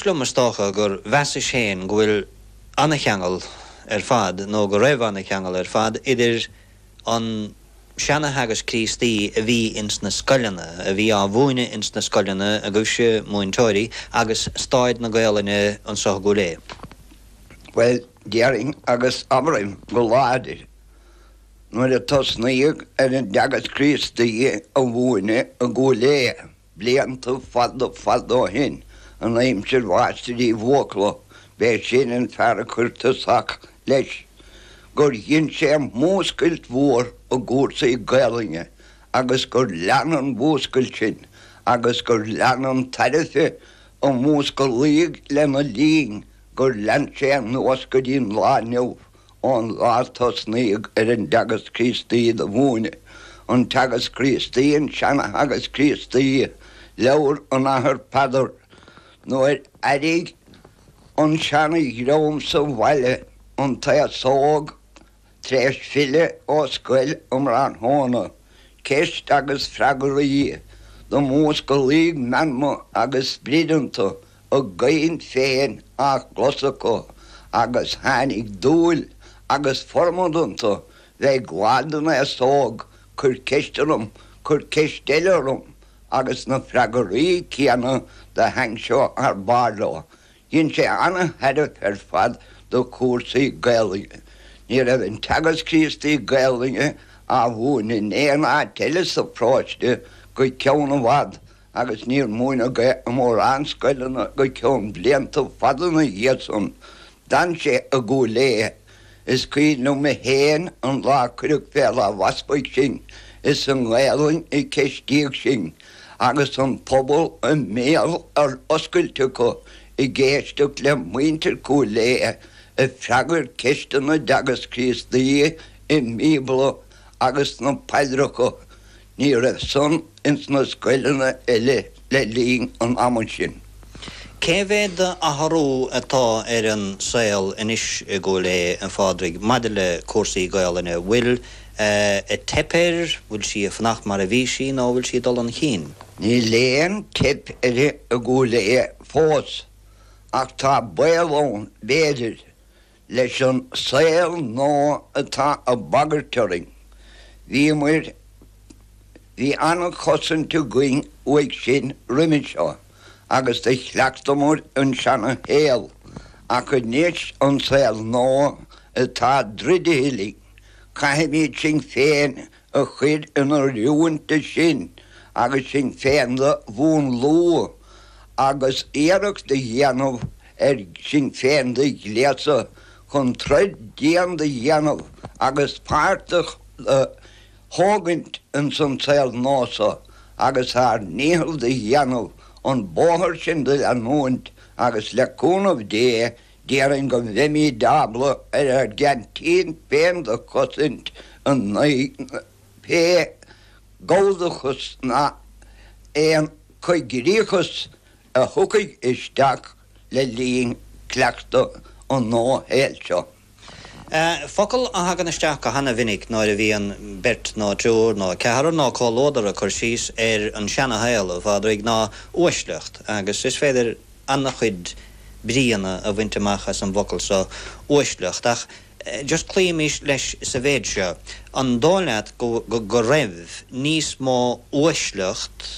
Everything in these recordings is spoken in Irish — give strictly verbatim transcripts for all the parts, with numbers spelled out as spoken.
Liom is dócha gur mheasais féin go bhfuil ana-cheangal ar fad, nó go raibh ana-cheangal ar fad, idir an seana-theagasc Críostaí a bhí ins na scoileanna, a bhí á mhúineadh ins na scoileanna agaibhse múinteoirí, agus stáid na Gaolainne anso i gCúil Aodha. Bhuel, déarfainn agus abraim go láidir, nuair a tosnaíodh ar an dteagasc Críostaí a mhúineadh i gCúil Aodha, Blianta fada fada ó shin, in aimsir Mháistir Uí Bhuachalla, b'é sin an fear a chuir tosach leis, gur dhein sé múscailt mhór i gcúrsaí Gaelainne agus gur lean an mhúscailt sin agus gur lean an tairbhe a músclaíodh lena linn, gur lean sé anuas go dtí an lá inniu. Ón lá a tosnaíodh ar an dteagasc Críostaí do mhúineadh, an Teagasc Críostaí, an seana-theagasc Críostaí, leabhar an Athar Peadar, nuair airigh an seana-dhream sa bhaile an t-aos óg tar éis filleadh ó scoil um thráthnóna, ceist agus freagraí, do músclaíodh meanma agus sprid iontu, a gcaint féin á gclos acu agus tháinig dúil agus formad iontu bheith ag lá den aos óg, cuir ceist orm, cuir ceist eile orm agus na freagraí céanna do aimseodh thar barr leo. Dhein sé ana-thairbhe ar fad do chúrsaí Gaelainne. Ní raibh an Teagasc Críostaí Gaelainne á mhúineadh in aon áit eile sa pharóiste go ceann i bhfad agus níor múineadh é i mórán scoileanna go ceann blianta fada ina dhiaidh san. D'fhan sé i gCúil Aodha. Is cuimhin liom féin an lá a cuireadh fé láimh easpaig sinn, is i nGaelainn a ceistíodh sinn, agus an pobal a mbéal ar oscailt acu ag éisteacht le muintir Chúil Aodha ag freagairt ceisteanna i dTeagasc Críostaí i mBíobla agus sna paidreacha. Ní raibh san ins na scoileanna eile le linn an ama sin. Cé mhéad d'athrú atá ar an saol anois i gCúil Aodha, a Phádraig, maidir le cúrsaí Gaolainne? Bhfuil ag teip air, bhfuil sí ag fanacht mar a bhí sí nó bhfuil sí ag dul 'un chinn? Níl aon teip uirthi i gCúil Aodha fós ach tá baol ann, b'fhéidir, leis an saol nua atá ag bagairt orainn. Bhíomair Bhí an-chosaint againn uaidh sin roimhe seo agus do chleachtamar an seana-shaol, ach anois an saol nua atá druidithe linn, caithfimid sinn féin a chur in oiriúint do sin agus sinn féin do mhúnlú agus iarracht a dhéanamh ar sinn féin do ghléasadh chun troid dian do dhéanamh agus páirt a thógaint ins an saol nua so agus ár ndícheall do dhéanamh an bóthar sin do leanúint agus le cúnamh Dé déarfainn go mbeimíd ábalta ar ár gceaintín féin do chosaint in aghaidh pé Galldachas ná aon choigríochas a thiocfaidh isteach le linn cleachtadh an nua-shaoil seo. Focal a thagann isteach go hana-mhinic nuair a bhíonn beirt nó triúr nó ceathrar nó comhluadar ag cur síos ar an seana-shaol, a Phádraig, ná uaisleacht agus is féidir ana-chuid bríonna a bhaint amach as an bhfocal so, uaisleacht. Ach just cloímis leis sa mhéid seo, an dóigh leat go go raibh níos mó uaisleacht,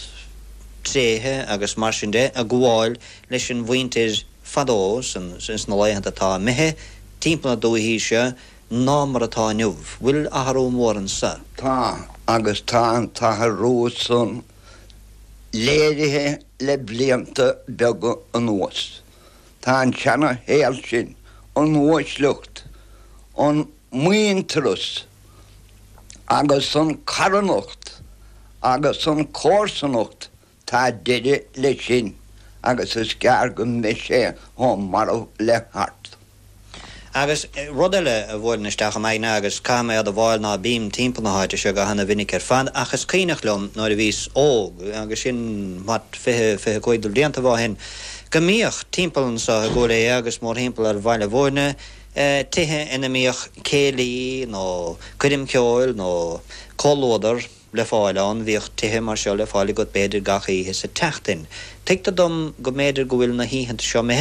tréithe agus mar sin de ag gabháil leis an mhuintir fadó, ins na laethanta atá imithe, timpeall na dúichí seo, ná mar atá inniu. Bhfuil athrú mór anso? Tá, agus tá an t-athrú san léirithe le blianta beaga anuas. Tá an seana-shaol sin, an uaisleacht, an muintearas agus an charthanacht agus an chomharsanacht, tá deireadh leis sin agus is gearr go mbeidh sé chomh marbh le hArt. Agus rud eile a bhuaileann isteach im aigne, agus caithfidh mé admháil ná bím timpeall na háite seo go hana-mhinic ar fad, ach is cuimhneach liom nuair a bhíos óg, agus sin, what, fiche, fiche cúig de bhliantaibh ó shin, go mbíodh timpeall anso i gCúil Aodha agus mórthimpeall ar Bhaile Bhúirne, tithe ina mbíodh céilí nó coirm cheoil nó comhluadar. le fáil ann, bhíodh tithe mar seo le fáil agat b'fhéidir gach oíche sa tseachtain. Tuigtear dom go mb'fhéidir go bhfuil na hoícheanta seo imithe.